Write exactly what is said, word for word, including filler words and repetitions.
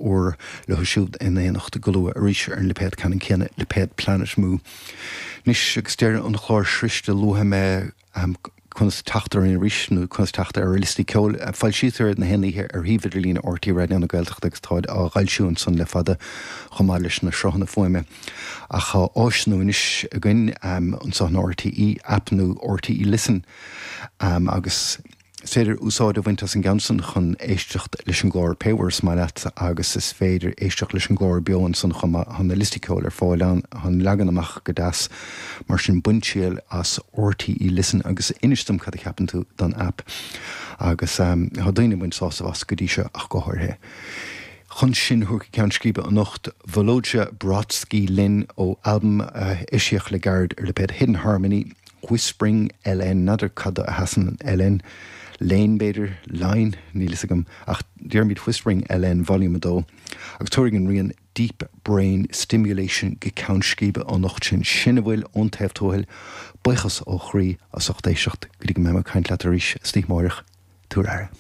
úr leo siúd in éineacht go luath arís ar an lipéad ceannann céanna, lipéad Planet Mu. Anois agus deireadh an chláir sroichte, luafaidh mé conas teacht orainn arís nó conas teacht ar ár liostaí ceoil. Foilsítear na haon oíche ar shuíomh idirlín R T É Raidió na Gaeltachta agus táid á bhfoilsiú ansan le fada chomh maith leis na sruthanna fuaime. Ach tá áis nua anois againn anseo in R T É, aip nua R T É Listen, um, agus is féidir úsáid a bhaint as an gceann san chun éisteacht leis an gclár pé uair is maith leat agus is féidir éisteacht leis an gclár beo ansan chomh maith. Tá na liostaí ceoil ar fáil ann, tá an leagan amach go deas, mar sin bain triail as R T É Listen agus inis dom cad a cheapann tú den app agus um, tá daoine ag baint sásamh as go dtí seo ach go háirithe. Chun sinn a thabhairt go ceann scríbe anocht, Volodya Brodsky linn ó albam uh, eisíodh le gairid ar lipéad Hidden Harmony, Whispering L N. N'fheadar cad a sheasann L N, Lane b'fhéidir, line, níl a fhios agam, ach déarfaimid Whispering L N Volume a dó agus tabharfaidh an rian Deep Brain Stimulation go ceann scríbe anocht sin. Sin a bhfuil ón Taobh Tuathail. Buíochas ó chroí as ucht éisteacht. Go dtí go mbeidh mé ag caint leat arís istoíche amárach, tabhair aire.